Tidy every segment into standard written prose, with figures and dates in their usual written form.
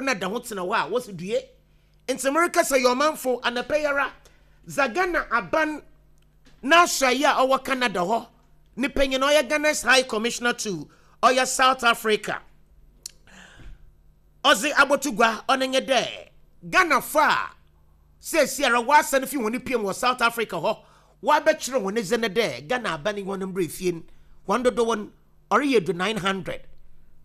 na da ho tsena hɔ a, wɔse due. Ntsi merekasa yi ɔmanfo, anapa yi ara, dza Ghana aban n'asoɛe a ɔwɔ Canada hɔ ne panyin a ɔyɛ Ghana's High Commissioner to ɔyɛ South Africa ɔdze aboto gua, ɔno nye dɛ Ghanafo a seseiara wɔasan fi hɔn pie mu wɔ South Africa hɔ wɔabɛkyerɛ hɔn dze no dɛ Ghana aban yi hɔn mbra fie no, hɔn dodow no ɔreyɛ edu 900.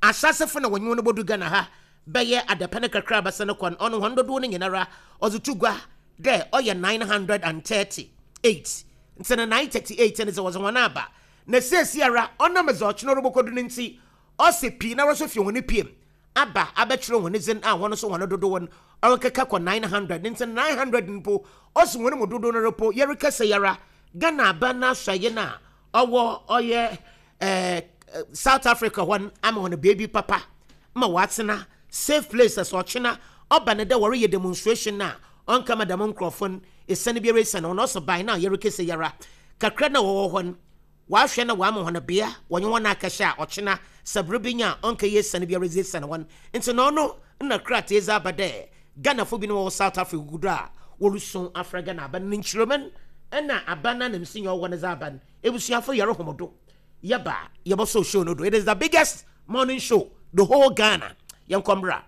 Ahyɛasefo na wɔnye hɔn bodu Ghana ha bɛyɛ adapɛn kakra abɛsen kɔ no, ɔno hɔn dodow no nyinara ɔdze to gua dɛ ɔyɛ 938. Ntsi no 938 no dze wɔdze hɔn aba. Na seseiara ɔnam dza ɔkyena ɔrobokodu no ntsi, ɔse piinara so fi hɔn pie mu aba abɛkyerɛ hɔn dzin a hɔn so hɔn dodow no ɔrekeka kɔ 900. Ntsi no 900 no mpo ɔse hɔn mu dodow noara mpo yɛrekasa yi ara Ghana aban n'asoɛe no a ɔwɔ ɔyɛ eh, South Africa hɔ no ama hɔn beebi papa ma wɔatsena, safe place sɛ ɔkyena ɔba no dɛ wɔreyɛ demonstration a ɔnnkɛma dɛm nkorɔfo no esian biara esian hɔn. Ɔse by now yɛrekasa yi ara kakra no a wɔwɔ hɔ no wɔahwɛ na wɔama hɔn bea wɔnye hɔn akɛhyɛ a ɔkyena sɛ ber bi nya a ɔnnkɛyɛ esian biara dze esian hɔn. Ntsi na ɔno nna krataa yi dze aba dɛ Ghanafo binom a wɔwɔ South Africa gu do a worusu afrɛ Ghana aban no nkyerɛmu na aban n'ananmusinyi a ɔwɔ hɔ no dze aba no. Ebusuafo yɛrohom do yɛba a yɛbɔsɔw show no do. It is the biggest morning show the whole Ghana. Yɛnkɔ mbra.